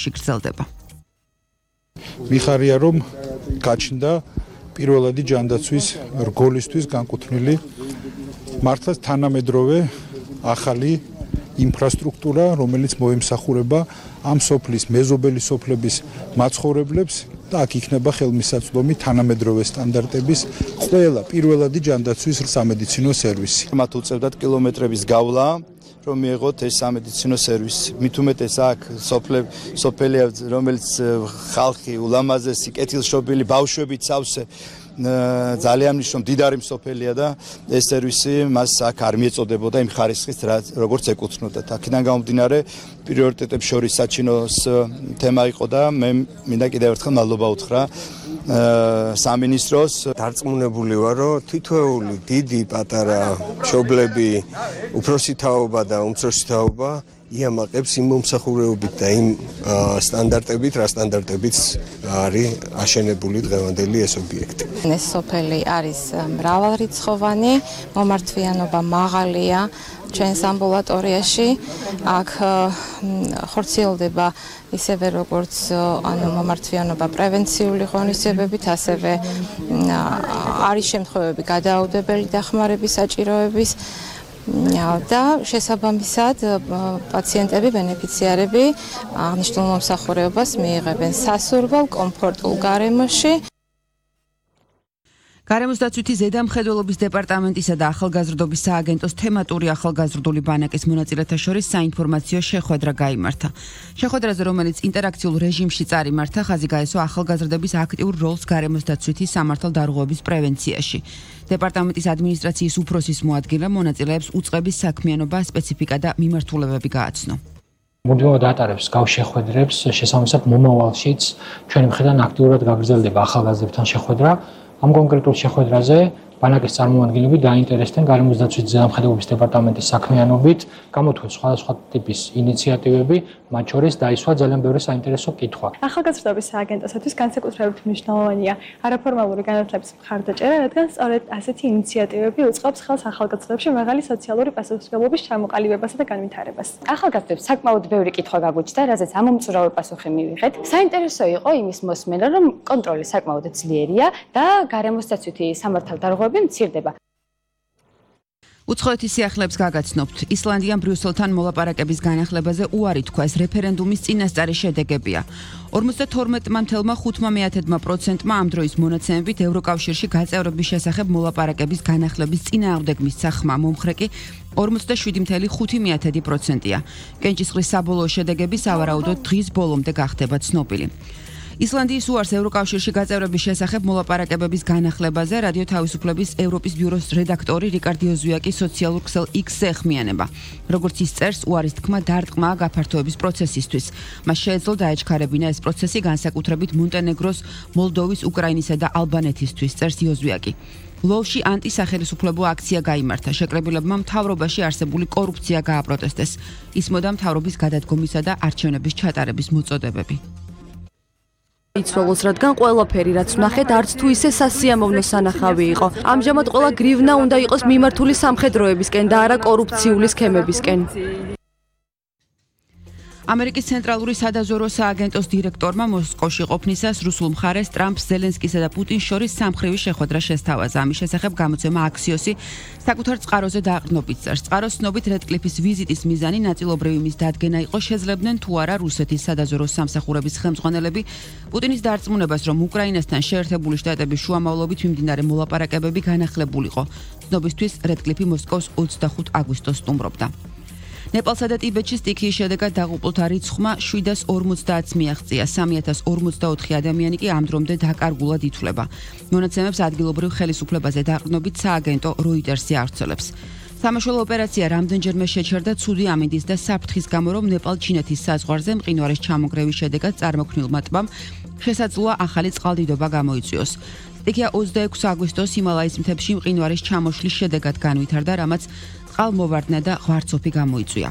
გრძელდება. მიხარია რომ გაჩნდა პირველადი ჯანდაცვის რგოლისთვის განკუთვნილი მართლაც თანამედროვე ახალი ინფრასტრუქტურა, რომელიც მოემსახურება ამ სოფლის მეზობელი სოფლების მაცხოვრებლებს და აქ იქნება ხელმისაწვდომი თანამედროვე სტანდარტების ყველა პირველადი ჯანდაცვის სამედიცინო სერვისი. მათ უწევდათ კილომეტრების გავლა, რომ მიეღოთ ეს სამედიცინო სერვისი. მით უმეტეს აქ სოფელია, რომელიც ხალხი ულამაზესი, კეთილშობილი, ბავშვებით სავსე ძალიან მნიშვნელოვანი მდიდარი სოფელია და ეს სერვისი მას აქ არ მიეწოდებოდა იმ ხარისხის, როგორც ეკუთვნოდა. აქედან გამომდინარე, პრიორიტეტებს შორის საჩინოს თემა იყო და მე მინდა კიდევ ერთხელ მადლობა უთხრა სამინისტროს. დარწმუნებული ვარ, რომ თითოეული დიდი, პატარა მშობლები, უფროსი თაობა და უმცროსი თაობა იამაყებს იმ მომსახურეობით და იმ სტანდარტებით, რა სტანდარტებიც არის აშენებული დღევანდელი ეს ობიექტი. ეს სოფელი არის მრავალრიცხოვანი, მომართვიანობა მაღალია ჩვენს ამბულატორიაში. აქ ხორციელდება ისევე როგორც მომართვიანობა პრევენციული ღონისძიებებით, ასევე არის შემთხვევები გადაუდებელი დახმარების საჭიროების და შესაბამისად პაციენტები, ბენეფიციარები აღნიშნულ მომსახურებას მიიღებენ სასურველ, კომფორტულ გარემოში. გარემოსდაცვითი ზედამხედველობის დეპარტამენტისა და ახალგაზრდობის სააგენტოს თემატური ახალგაზრდული ბანაკის მონაწილეთა შორის საინფორმაციო შეხვედრა გაიმართა. შეხვედრაზე, რომელიც ინტერაქციულ რეჟიმში წარიმართა, ხაზი გაესვა ახალგაზრდების აქტიურ როლს გარემოსდაცვითი სამართალდარღვევების პრევენციაში. დეპარტამენტის ადმინისტრაციის უფროსის მოადგილე მონაწილეებს უწყების საქმიანობა, სპეციფიკა და მიმართულებები გააცნო. მუდმივად ატარებს გავს შეხვედრებს, შესაბამისად მომავალშიც ჩვენი მხრიდან აქტიურად გაგრძელდება ახალგაზრდებთან შეხვედრა. ამ კონკრეტულ შეხვედრაზე ბანაკის წარმომადგენლები დაინტერესდნენ გარემოსდაცვითი ზედამხედველობის დეპარტამენტის საქმიანობით, გამოთქვეს სხვადასხვა ტიპის ინიციატივები, მათ შორის დაისვა ძალიან ბევრი საინტერესო კითხვა. ახალგაზრდობის სააგენტოსათვის განსაკუთრებით მნიშვნელოვანია არაფორმალური განათლების მხარდაჭერა, რადგან სწორედ ასეთი ინიციატივები უწყობს ხელს ახალგაზრდებში მაღალი სოციალური პასუხისმგებლობის ჩამოყალიბებასა და განვითარებას. ახალგაზრდებს საკმაოდ ბევრი კითხვა გაგვიჩნდა, რაზეც ამომწურავი პასუხი მივიღეთ. საინტერესო იყო იმის მოსმენა, რომ კონტროლი საკმაოდ ძლიერია და გარემოსდაცვითი სამართალდარღვევები მცირდება. უცხოეთის სიახლეებს გაგაცნობთ. ისლანდიამ ბრიუსელთან მოლაპარაკების განახლებაზე უარი თქვა, ეს რეფერენდუმის წინასწარი შედეგებია. 52,5% ამ დროის მონაცემებით ევროკავშირში გაწევრების შესახებ მოლაპარაკების განახლების წინააღმდეგ მისცა ხმა, მომხრე კი 47,5%-ია. კენჭისყრის საბოლოო შედეგები სავარაუდოდ დღის ბოლომდე გახდება ცნობილი. ისლანდიის უარს ევროკავშირში გაწევრების შესახებ მოლაპარაკებების განახლებაზე რადიო თავისუფლების ევროპის ბიუროს რედაქტორი რიკარდ იოზუაკი სოციალურ ქსელ X-ზე ეხმიანება. როგორც ის წერს, უარის თქმა დარტყმაა გაფართოების პროცესისთვის. მას შეეძლო დაეჩქარებინა ეს პროცესი განსაკუთრებით მონტენეგროს, მოლდოვის, უკრაინისა და ალბანეთისთვის, წერს იოზუაკი. ლვოვში ანტისახელისუფლებო აქცია გაიმართა. შეკრებილებმა მთავრობაში არსებული კორუფცია გააპროტესტეს. ისმოდა მთავრობის გადადგომისა და არჩევნების ჩატარების მოწოდებები. იცვალოს, რადგან ყველაფერი, რაც ვნახეთ, არც თუ ისე სასიამოვნო სანახავი იყო. ამჟამად ყველა გრივნა უნდა იყოს მიმართული სამხედროებისკენ და არა კორუფციული სქემებისკენ. ამერიკის ცენტრალური სადაზვერვო სააგენტოს დირექტორმა მოსკოვში ყოფნისას რუსულ მხარეს ტრამპს, ზელენსკისა და პუტინს შორის სამხრივი შეხვედრა შესთავაზა. ამის შესახებ გამოცემა აქსიოსი საკუთარ წყაროზე დააყრდნობით წერს. წყაროს ცნობით რედკლიფის ვიზიტის მიზანი ნაწილობრივი მის დადგენა იყო, შეძლებდნენ თუ არა რუსეთის სადაზვერვო სამსახურების ხელმძღვანელები პუტინის დარწმუნებას, რომ უკრაინასთან შეერთებული შტატების შუამავლობით მიმდინარე მოლაპარაკებები განახლებულიყო. ცნობისთვის რედკლიფი მოსკოვს 25 აგვისტოს სტუმრობდა. ნეპალსა და ტიბეტში სტიქიის შედეგად დაღუპულთა რიცხვმა 750-ს მიაღწია. 3044 ადამიანი კი ამ დრომდე დაკარგულად ითვლება. მონაცემებს ადგილობრივ ხელისუფლებაზე დაყრდნობით სააგენტო როიტერსი ავრცელებს. სამაშველო ოპერაცია რამდენჯერმე შეჩერდა ცუდი ამინდის და საფრთხის გამო, რომ ნეპალ-ჩინეთის საზღვარზე მყინვარის ჩამოგრევის შედეგად წარმოქმნილმა ტბამ შესაძლოა ახალი წყალდიდობა გამოიწვიოს. სტიქია 26 აგვისტოს ჰიმალაის მთებში მყინვარის ჩამოშლის შედეგად განვითარდა, რამაც წყალმოვარდნა და ღვარცოფი გამოიწვია.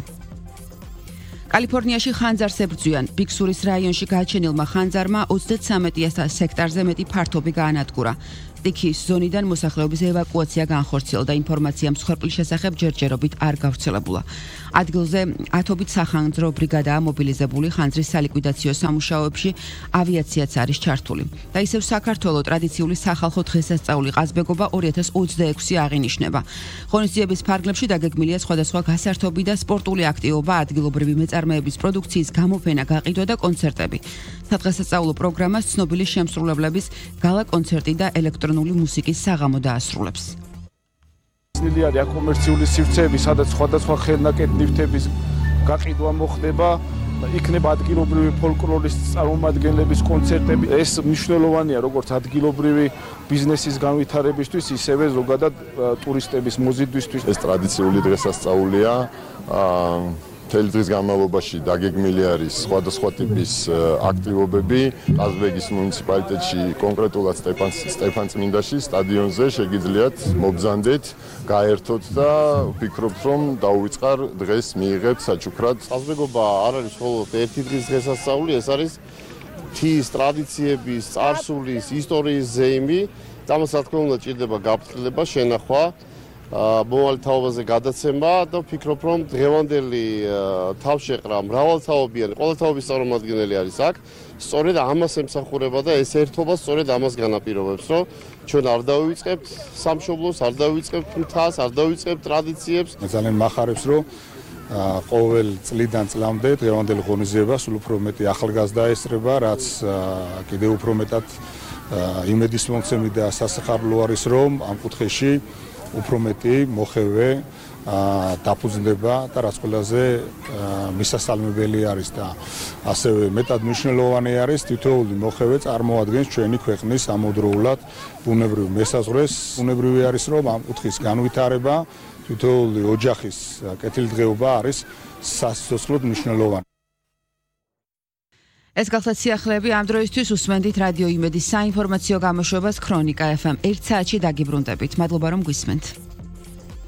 კალიფორნიაში ხანძარს ებრძვიან. ბიქსურის რაიონში გაჩენილმა ხანძარმა 33 ჰექტარზე მეტი ფართობი გაანადგურა. სტიქიის ზონიდან მოსახლეობის ევაკუაცია განხორციელდა. ინფორმაცია მსხვერპლის შესახებ ჯერჯერობით არ გავრცელებულა. ადგილზე ათობით სახანძრო ბრიგადაა მობილიზებული, ხანძრის სალიკვიდაციო სამუშაოებში ავიაციაც არის ჩართული. და ისევ საქართველოს ტრადიციული სახალხო დღესასწაული ყაზბეგობა 2026 აღინიშნება. ღონისძიების ფარგლებში დაგეგმილია სხვადასხვა გასართობი და სპორტული აქტივობა, ადგილობრივი მეწარმეების პროდუქციის გამოფენა, გაყიდვა და კონცერტები. სადღესასწაულო პროგრამას ცნობილი შემსრულებლების გალა კონცერტი და ელექტრონული მუსიკის საღამო დაასრულებს. ნილი არის აკომერციული სივრცეები, სადაც სხვადასხვა ხელნაკეთ ნივთების გაყიდვა მოხდება. იქნება ადგილობრივი ფოლკლორის წარმომადგენლების კონცერტები. ეს მნიშვნელოვანია როგორც ადგილობრივი ბიზნესის განვითარებისთვის, ისევე ზოგადად ტურისტების მოზიდვისთვის. ეს ტრადიციული დღესასწაულია. მთელი დღის განმავლობაში დაგეგმილი არის სხვადასხვა ტიპის აქტივობები. ყაზბეგის მუნიციპალიტეტში, კონკრეტულად სტეფანწმინდაში, სტადიონზე შეგიძლიათ მობრძანდეთ, გაერთოთ და ვფიქრობ, რომ დაუვიწყარ დღეს მიიღებთ საჩუქრად. ყაზბეგობა არ არის მხოლოდ ერთი დღის დღესასწაული, ეს არის მთის ტრადიციების, წარსულის, ისტორიის ზეიმი. ამას რა თქმა უნდა ჭირდება გაფრთხილება, შენახვა. მომავალი თაობაზე გადაცემა და ვფიქრობ, რომ დღევანდელი თავშეყრა მრავალთაობიანი, ყოველთაობის წარმომადგენელი არის აქ. სწორედ ამას ემსახურება და ეს ერთობა სწორედ ამას განაპირობებს, რომ ჩვენ არ დავივიწყებთ სამშობლოს, არ დავივიწყებთ მთას, არ დავივიწყებთ ტრადიციებს. ძალიან მახარებს, რომ ყოველ წლიდან წლამდე დღევანდელ ღონისძიებას სულ უფრო მეტი ახალგაზრდა ესწრება, რაც კიდევ უფრო მეტად იმედის მომცემი და სასახარლო არის, რომ ამ კუთხეში უფრო მეტი მოხევე დაფუძნდება და რაც ყველაზე მისასალმებელი არის და ასევე მეტად მნიშვნელოვანი არის თითოეული მოხევე წარმოადგენს ჩვენი ქვეყნის ამოდროულად ბუნებრივ მესაზღვრეს. ბუნებრივი არის რომ ამ კუთხის განვითარება თითოეული ოჯახის კეთილდღეობა არის სასიცოცხლოდ მნიშვნელოვანი. ეს გახლავთ სიახლეები ამ დროისთვის უსმენდით რადიო იმედის საინფორმაციო გამოშვებას ქრონიკა FM 1 საათში დაგიბრუნდებით. მადლობა რომ გვისმენთ.